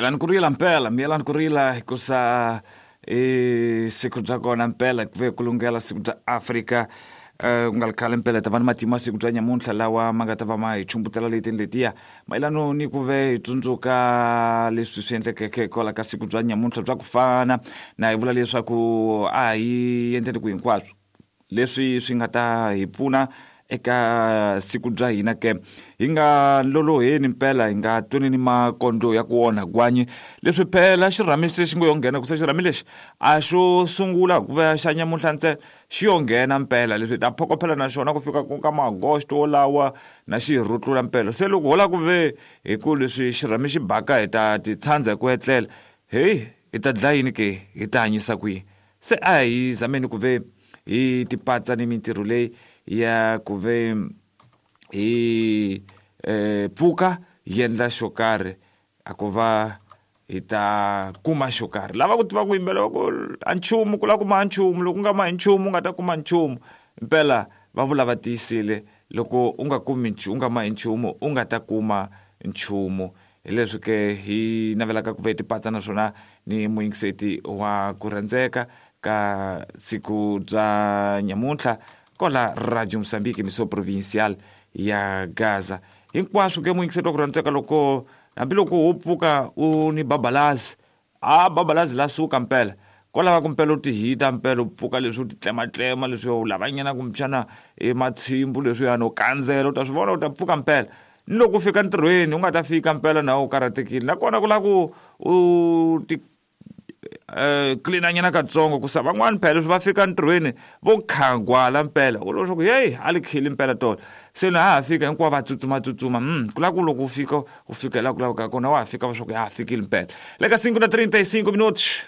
Miyelani ku rila mpela, miyelani ku rila hikusa i siku bya kona mpela ku ve ku lunghela siku bya Afrika. Ku nga ri khale mpela ta va ni matimu ya siku bya nyamuntlha lawa ma nga ta va ma hi chumbutela leti ni letiya mayelano ni ku ve hi tsundzuka leswi swi endlekeke kwala ka siku bya nyamuntlha bya ku fana na hi vula leswaku a hi endleni ku hinkwaswo leswi swi nga ta hi pfuna eka siku bya hina ke hi nga loloheni mpela hi nga tweni ni makondlo ya ku onha gwanyi leswi phela xirhami se xi ngo yo nghena ku se xirhami lexi a xo sungula ku va xa nyamuntlha ntsena xi yo nghena mpela leswi hi ta phokophela na xona ku fika ka maagosto wolawa na xi hi rutlula mpela se loko ho lava ku ve hi ku leswi xirhami xi baka hi ta ti tshandza hi ku etlela heyi hi ta dlaya yini ke hi ta hanyisa kwihi se a hi zameni ku ve hi tipatsa ni mintirho leyi ya ku ve hi pfuka hi endla xo karhi a ku va hi ta kuma xo karhi lava ku tiva ku yimbelela ku a nchumu ku lava kuma a nchumu loko u nga mahi nchumu u nga ta kuma nchumu mpela va vula va tiyisile loko u nga kumi u nga mahi nchumu u nga ta kuma nchumu hi leswi ke hi navelaka ku ve tipatsa naswona ni muyingiseti wa ku rhandzeka ka siku bya nyamuntlha kola radio mosambiki miso provincial ya gaza hinkwaswo ke muyingiseti wa ku rhandzeka loko hambiloko wo pfuka u ni babalazi a babalazi la suka mpela ko lava ku mpela u tihita mpela u pfuka leswi u titlematlema leswi u lavanyana kumbexana ematshimbu leswiyani u kandzela u ta swi vona u ta pfuka mpela ni loko u fika ntirhweni u nga ta fika mpela na u karhatekile nakona ku lava ku u ti clean-anyana katsongo ku sa van'wani phela leswi va fika ntirhweni vo khagwala mpela u leswaku heyi a li khili mpela tolo se na ha ha fika hinkwavo va tsutsumatsutsuma ku lava ku loko u fika u fika laha ku lavekaka kona wa ha fika va swa ku ya ha fikile mpela le ka 5 na 35 minutos.